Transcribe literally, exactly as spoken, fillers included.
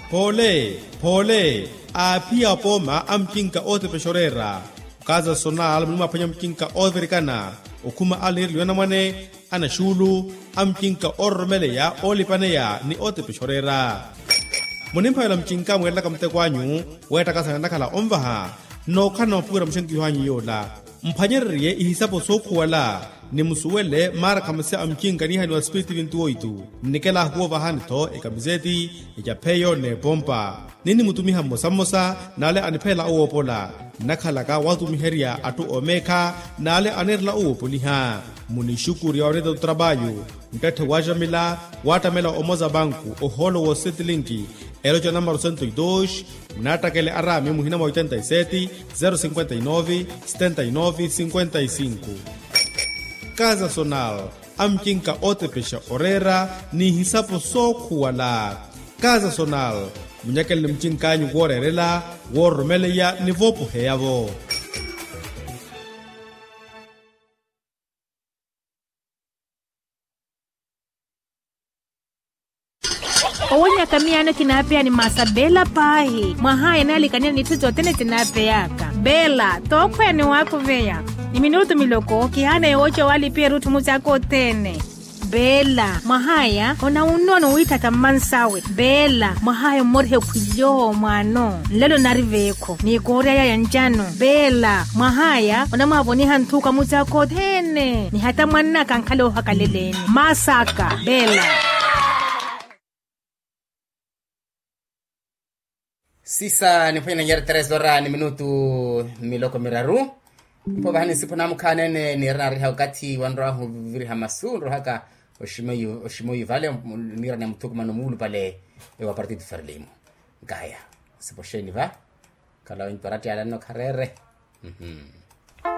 Phoole phoole, aaphiya apooma a mucinka ootepexa oreera. Okaza sonal munimwaphwanya mucinka oovirikana, okhuma aliniriliwa anamwane, anaxuulu, a mucinka oororomeleya oolipaneya ni ootepexa oreera. Munimphavela mucinka mweerelaka muteko anyu, weettakasana nnakhala onvaha, nnookhala namuphuwira muxenkiho anyu yoola. Mphwanyererye ihisapo sookhuwala, ni musuwele maarakhamasi a mucinka niihaniwa spiritu vintu oitu. Nnikela ahuwa ovahani-tho ekamiseti, ecapheyo n'epompa. Ninnimutumiha mmosa mmosa n'ale aniphelela owoopola. Nnakhalaka watumiherya atthu oomeekha, n'ale anirela owoopoliha. Munixukurya onetta tutrapayu, nttatthe waaxamila, waattamela omoza banku ohoolo woosetlinki, eloca namaro sento e dos. Munaattakele araami muhina mwa oitenta e seti, zero cinquenta e nove, setenta e nove cinquenta e cinco. Kaza sonal, a mucinka ootepexa oreera, n'ihisapo sookhuwala. Kaza sonal, munyakeleni mucink'anyu wooreerela, woororomeleya ni voopoheya-vo. Owonyaka miyaano kinaapeya ni masa bela paahi mwahaya naalikanela n'itthu sothene sinaapeyaka. Bela tookhweya ni waakhuveya, ni minutu miloko kihaana yooca waalipiha erutthu musaaka othene. Bela mwahaya onawunnoona owiithatha mmansawe. Bela mwahaya ommoriha ekhwilyo mwaano nlelo nari veekho n'ikoorya yaya ncano. Bela mwahaya onamwaavoniha nthuuka musaaka othene ni hata mwannaka ankhala oohakaleleni. Masaka bela. Sisa niphwanya nanyari tres ora ni minutu miloko miraru. Mpo vahani nsipo namukhaanene niira nariha okathi wanrwahu viriha masu nrohaka oximoyu oximoyu vale. Niira ni muthukumano muulupale ewa partido ferlimu. Nkaya nsipo xeeni va? Khala wintu arattiyala nno khareere.